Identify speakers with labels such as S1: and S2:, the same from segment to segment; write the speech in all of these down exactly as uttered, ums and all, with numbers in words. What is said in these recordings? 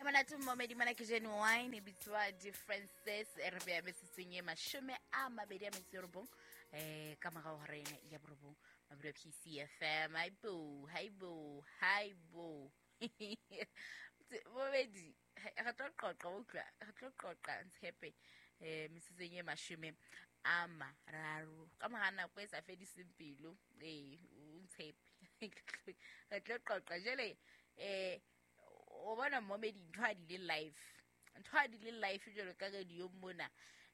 S1: Monate momedi mona ke Genuine e bitswa Differences e re beya metsotsong e mashome a mabedi a metso e robong eh ka morao ho rena ya borobong mabelo P C F M. Haibo haibo haibo momedi re tlo qoqa utlwa re tlo qoqa ntshepe eh metsotsong e mashome a mararo ka mora nako e sa fediseng pelo eh ntshepe re tlo qoqa jele eh o bona momedi ntho a di le live ntho a di le live jalo ka radio mona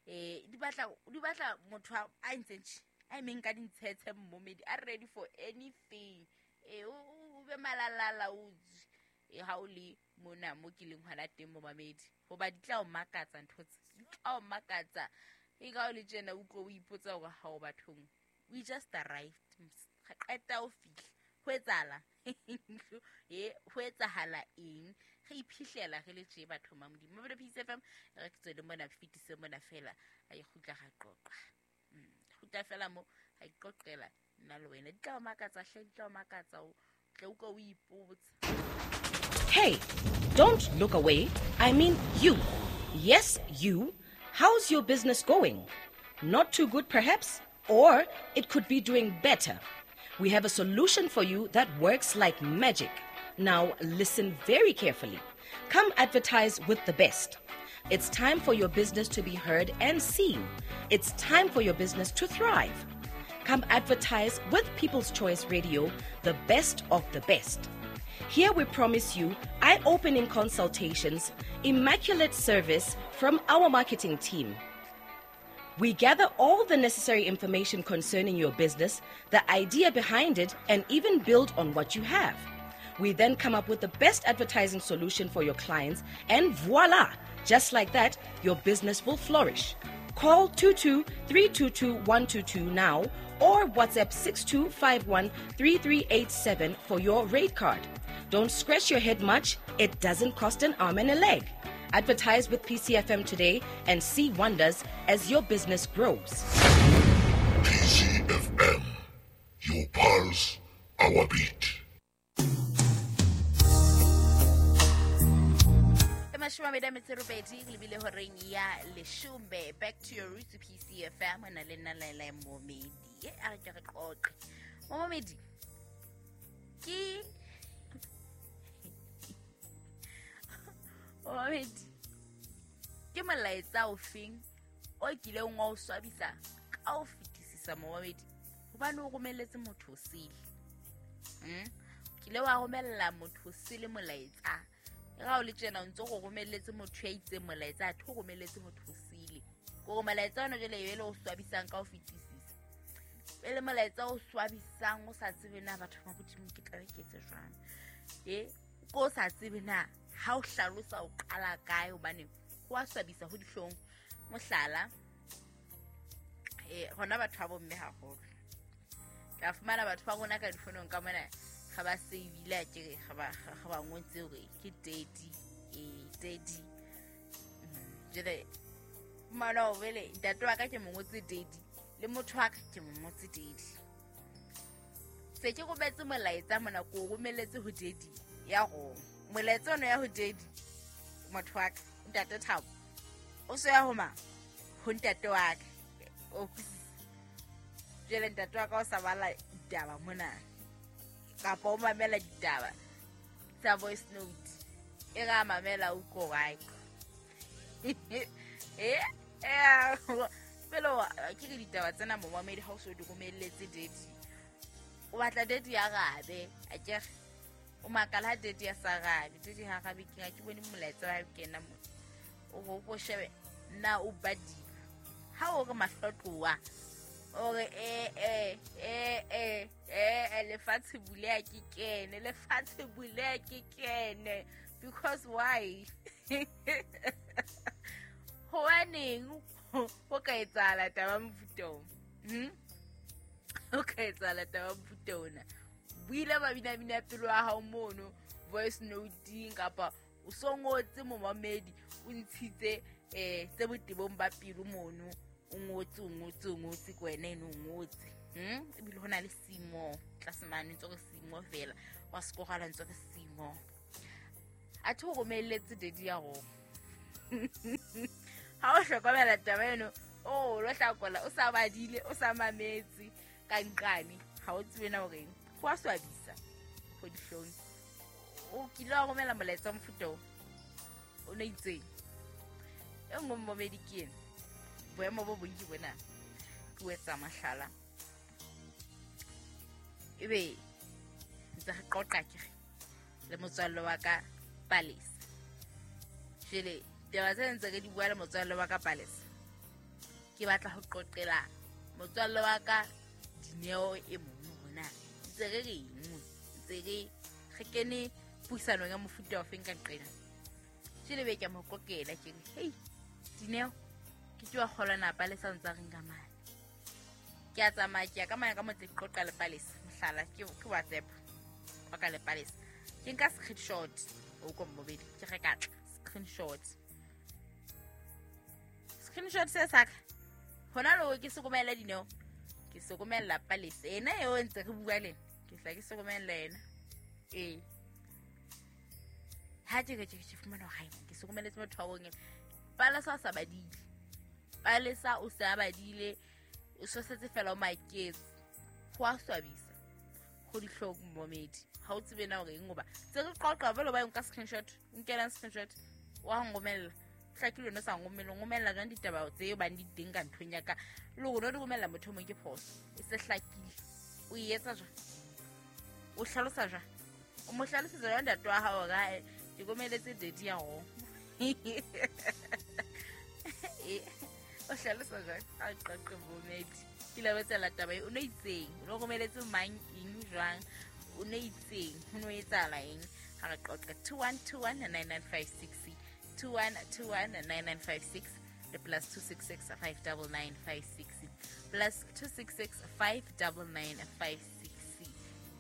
S1: eh di batla di batla motho a ntseng a emeng ka dintshetshe momedi a ready for anything eh o be malalala o e ha o le mona mo ke leng hona teng mo mamedi hoba di tla o makatsa ntho tse di tla o makatsa e ka o le tjena o tlo o ipotsa hore ha o bathong we just arrived qeta o fihla ho etsahala e ho etsahala eng re iphihlela re le tje batho ba Modimo Mabelo P C F M re ke tswele mona fitise mona fela a ikgutla ga qoqa kgutla fela mo ga iqoqela nna le wena di tla o makatsa hle di tla o makatsa o tle o ka o ipotsa.
S2: Hey, don't look away. I mean you. Yes, you. How's your business going? Not too good perhaps, or it could be doing better. We have a solution for you that works like magic. Now listen very carefully. Come advertise with the best. It's time for your business to be heard and seen. It's time for your business to thrive. Come advertise with People's Choice Radio, the best of the best. Here we promise you eye-opening consultations, immaculate service from our marketing team. We gather all the necessary information concerning your business, the idea behind it, and even build on what you have. We then come up with the best advertising solution for your clients, and voila! Just like that, your business will flourish. Call two two three two two one two two now or WhatsApp six two five one three three eight seven for your rate card. Don't scratch your head much. It doesn't cost an arm and a leg. Advertise with P C F M today and see wonders as your business grows.
S3: P C F M, your pulse, our beat.
S1: Mashome a mabedi a metso e robedi lebile horeng ya leshome. Back to your roots P C F M na le nna Laila Momedi. E a re ke re qoqe. Momedi ke Momedi ke molaetsa o feng o kileng wa o swabisa ka o fetisisa momedi hobane o romelletse motho o sele. Mm? Kile wa romella motho o sele molaetsa. Ga o le tjena o ntse go romelletse motho ya itseng molaetsa a tho romelletse motho o sele. Ko molaetsa ona jele e le o swabisang ka o fetisisa. E le molaetsa o swabisang o sa tsebe na batho ba Modimo ke tla ke etse jwang. E ko sa tsebe na ha o hlalosa o qala kae hobane ho a swabisa ho dihlong. Mohlala eh hona batho ba bomme haholo. Ka fumana batho ba rona ka difonong ka mona ga ba save-ile ke ga ba ga ba ngotse hore ke daddy eh daddy jele mana o vele ntate wa ka ke mo ngotse daddy le motho wa ka ke mo ngotse daddy se ke rometse molaetsa mona ko romelletse ho daddy ya go molaetsa ono ya ho daddy motho wa ka ntate Thabo o se ya ho ma ho ntate wa ka o jele ntate wa ka o sa bala ditaba mona kapa o mamela ditaba tsa voice note e ga mamela o ko gae eh eh pelo ke re ditaba tsena mo mamedi ha o so di romelletse daddy o batla daddy ya rabe a ke o makala ha daddy ya sa rabe daddy ha rabe ke ga ke bone molaetsa wa kena mo o go go shebe na o badi ha o re mahlotloa ore eh eh eh eh eh lefatshe buleha ke kene lefatshe buleha ke kene because why hobaneng ho ka etsahala taba mofuta hm ho ka etsahala taba mofuta ona buile ba bina bina pelo ya hao mono voice note kapa o so ngotse momamedi o ntshitse eh tse botebong ba pelo mono o ngotse o ngotse o ngotse ke wena eno o ngotse hm ebile ho na le simo tlase mane ntse re simo fela wa sekogala ntse re simo A thi o romelletse daddy ya rona. Ha o hlokomela taba eno, o lo hlakola o sa badile, o sa mametse ka nqane, ha o tsebe na hore ho a swabisa go dihlong. O kile wa romela molaetsa mofuta o o no itseng. E nngwe momedi ke ena. Boemo bo bong ke bona. Ke o etsa mahlala. Ebe ntse re qoqa ke re le motswalle wa ka Palace. Jwale taba tse ntse re di bua le motswalle wa ka Palace. Ke batla ho qoqela motswalle wa ka Dineo e mong hona. Ntse re reng? Ntse re re kene puisanong ya mofuta o feng ka nqena. Jwale be ke mo qoqela ke re, "Hey, Dineo, ke tlo kgolwa na Palace ntse re nka mane." Ke a tsamaya ke ya ka mane ka motse qoqa le Palace. Mohlala ke ke WhatsApp. Wa ka le Palace. Ke nka screenshot o ko mmobedi ke re ka tla screenshot. Screenshot se saka. Hona lo ke se romela Dineo. Ke se romela Palace. Ena eo ntse re bua le. Ke hla ke se romela yena. Eh. Ha ke ke ke fumana hore ke se romeletse motho wa bong. Palace o sa badile. Palace o sa badile. O sosetse fela o maketse. Ho a swabisa. Go dihlong momedi. Ha o tsebe na hore eng hoba. Tse re qoqa belo ba nka screenshot. Nkela screenshot. Wa ngomella. Hlakile no sa ngomella. Ngomella jwang ditaba tse bang di teng ka nthong ya ka. Le hore no di romella motho mong ke phoso. E se hlakile. O e etsa jwang? O hlalosa jwang? O mo hlalosetsa jwang ntate wa hao hore ke romeletse daddy ya hao? O hlalosa jwang? A qoqe momedi. Ke la betsela taba e o no itseng. O no romeletse mang eng jwang? O no itseng. Ho no etsahala eng? Ha re qoqe two one two one nine nine five six two one two one nine nine five six le plus two six six five nine nine five six plus two six six five nine nine five six.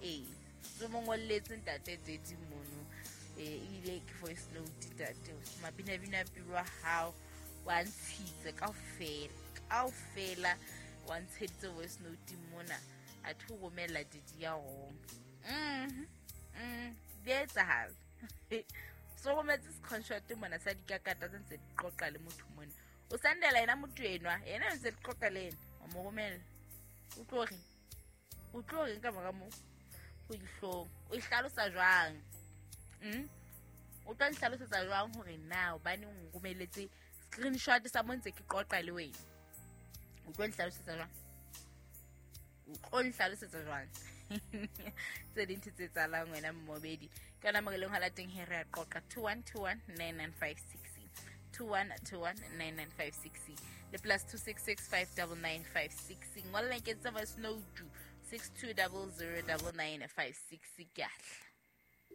S1: Eh, so mongolletse ntate daddy mono. Eh, ebile ke voice note ntate. Mabina bina pelo wa hao wa ntshitse kaofela. Kaofela wa ntsheditse voice note mona. A thi romela daddy ya home. Mhm. Mm, di etsahala. So rometse screenshot mona sa dikakata tse ntse di qoqa le motho mona. O sandela yena motho enwa, yena ntse di qoqa le yena. O mo romela. O tlo reng? O tlo reng ka mora moo? Go dihlong. O e hlalosa jwang? Mm? O tla nhlalosetsa jwang hore na hobane o nromeletse screenshot sa mo ntse ke qoqa le wena? O tlo nhlalosetsa jwang? O tlo nhlalosetsa jwang? Tse ding tse tsalang wena mmobedi. Ke yona mo re leng hona teng he re a qoqa two one two one nine nine five six two one two one nine nine five six le plus two six six five nine nine five six. Ngolla ke tsa voice note six two zero zero nine nine five six. Ke a tla.